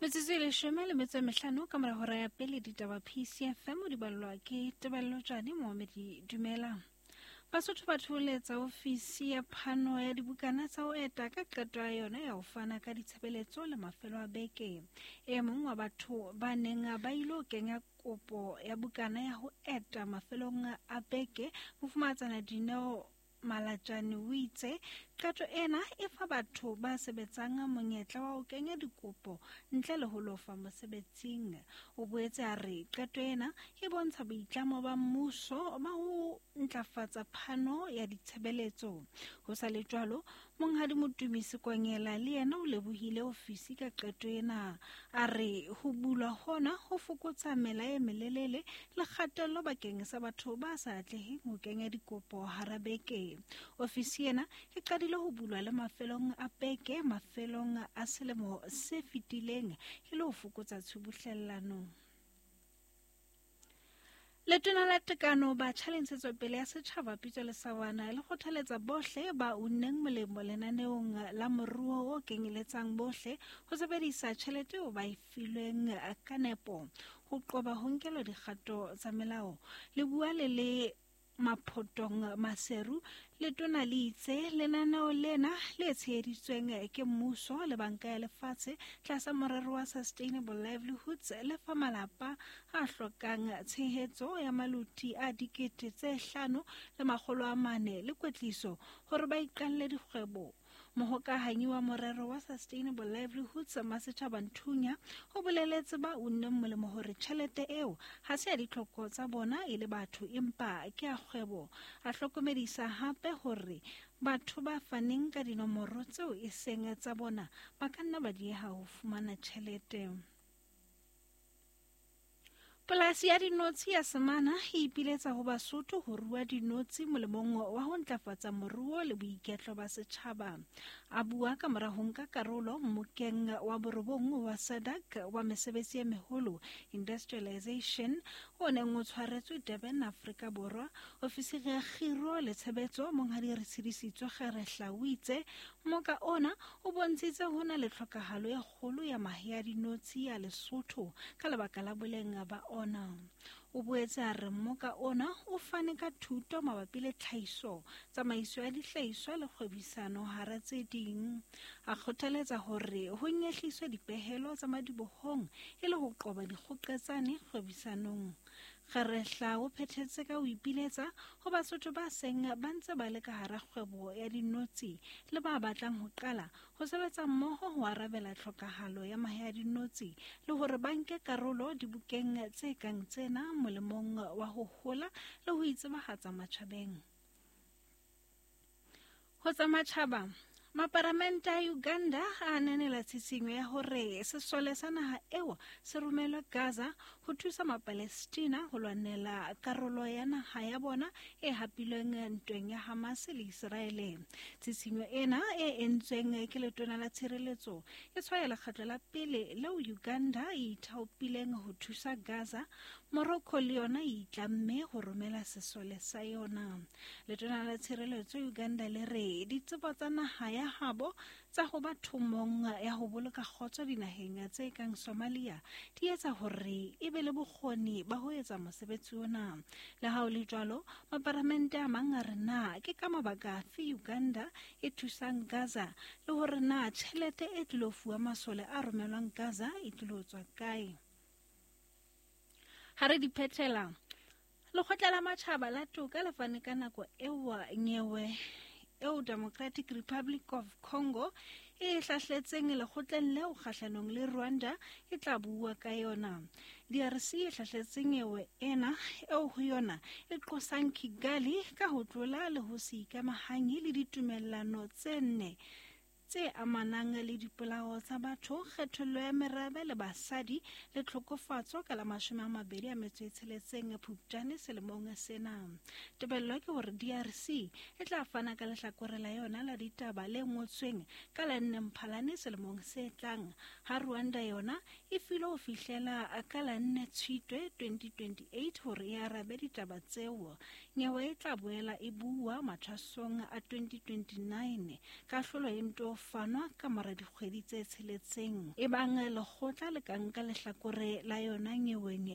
Metsotso e 15 ka mora hora ya pele ditaba PCFM o di ballwa ke Tebello Tjane Moamedi Dumela. Basotho ba thoholetsa ofisi ya phano ya dibukana tsa ho eta ka qeto ya yona ya ho fana ka ditshebeletso le mafelo a beke. E mong wa batho ba neng ba ilo kenya kopo ya bukana ya ho eta mafelong a beke, Mofumahatsana Dineo Malatjane o itse qeto ena e fa batho ba sebetsang monyetla wa ho kenya dikopo ntle le ho lofa mosebetsing. O boetse a re qeto ena e bontsha boitlamo ba mmuso ba ho ntlafatsa phano ya ditshebeletso. Ho sa le jwalo, Monghadi Motumi Sekonyela le yena o lebohile ofisi ka qeto ena. A re ho bulwa hona ho fokotsa mela e melelele le kgatello bakeng sa batho ba sa atleheng ho kenya dikopo hara beke. Ofisi ena e qadile ho bulwa le mafelong a beke mafelong a selemo se fetileng e le ho fokotsa tshubuhlellano. Letona la Tekano, Batjha le Ntshetsopele ya Setjhaba Pitso Lesawana le kgothaletsa bohle ba unneng molemo lenaneong la moruo o kenyeletsang bohle ho sebedisa tjhelete eo ba e filweng ka nepo ho qoba ho nkelwa dikgato tsa melao. Le bua le le Maphotong Maseru, letona le itse lenaneo lena le tsheheditsweng ke mmuso le Banka ya Lefatshe tlasa morero wa Sustainable Livelihoods le fa malapa a hlokang tshehetso ya maluti a 5400 le kwetliso hore ba iqalle dikgwebo. Mohokahanyi wa morero wa Sustainable Livelihoods Masetjhaba Nthunya o boleletse ba unneng molemo hore tjhelete eo ha se ya ditlhoko tsa bona e le batho empa ke ya kgwebo. A hlokomedisa hape hore batho ba faneng ka dinomoro tseo e seng tsa bona ba ka nna ba dieha ho fumana tjhelete. Polasi ya dinotshi ya Semana e ipiletsa ho Basotho ho rua dinotshi molemong wa ho ntlafatsa moruo le boiketlo ba setjhaba. A bua ka mora ho nka karolo mmokeng wa borobong wa SADC wa mesebetsi e meholo industrialization o neng o tshwaretswe Durban, Afrika Borwa. Ofisiri ya kgiro le tshebetso Monghadi Retshidisitswe Kgerehla o itse mmoka ona o bontshitse ho na le tlhokahalo e kgolo ya mahe a dinotshi a Lesotho ka lebaka la boleng ba ona. O boetse a re mmoka ona o fane ka thuto mabapi le tlhahiso, tsamaiso ya dihlahiswa le kgwebisano hara tse ding. A kgothaletsa hore ho nyehliswe dipehelo tsa madibohong e le ho qoba dikgoqetsane kgwebisanong. Kgerehla o phethetse ka ho ipiletsa ho Basotho ba seng ba ntse ba le ka hara kgwebo ya dinotshi le ba batlang ho qala ho sebetsa mmoho ho arabela tlhokahalo ya mahe a dinotshi le hore ba nke karolo dibukeng tse kang tsena molemong wa ho hola le ho itsebahatsa matjhabeng. Ho tsa matjhaba, maparamente a Uganda a ananela tshisinyo ya hore sesole sa naha eo se romelwe Gaza ho thusa Mapalestina ho lwanela karolo ya naha ya bona e hapilweng ntweng ya Hamas le Iseraele. Tshisinyo ena e entsweng ke letona la tshireletso e tshwaya lekgetlo la pele leo Uganda e ithaopileng ho thusa Gaza. Morocco le yona e itlamme ho romela sesole sa yona. Letona la tshireletso Uganda le re ditsebo tsa naha ya habo tsa ho ba thomong ya ho boloka kgotso dinaheng tse kang Somalia di etsa hore e be le bokgoni ba ho etsa mosebetsi ona. Le ha ho le jwalo, maparamente a mang a re na ke ka mabaka afe Uganda e thusang Gaza le hore na tjhelete e tlilo fuwa masole a romelwang Gaza e tlilo tswa kae. Ha re di phethela, Lekgotla la Matjhaba la Toka le fane ka nako eo nyewe eo Democratic Republic of Congo e hlahletseng lekgotleng leo kgahlanong le Rwanda e tla bua ka yona. DRC e hlahletse nyewe ena eo ho yona e qosang Kigali ka ho tlola le ho se ikamahanye le ditumellano tse nne tse amanang le dipolao tsa batho, kgethollo ya merabe le basadi le tlhokofatso ka la 26 Phupjane selemong sena. Tebello ke hore DRC e tla fana ka lehlakore la yona la ditaba le ngotsweng ka la 4 Mphalane selemong se tlang, ha Rwanda yona e filwe ho fihlela ka la 4 Tshitwe 2028 hore e arabe ditaba tseo. Nyewe e tla boela e bua mathwasong a 2029. Kahlolo e nto fanwa ka mora dikgwedi tse tsheletseng. Ebang lekgotla le ka nka lehlakore la yona nyeweng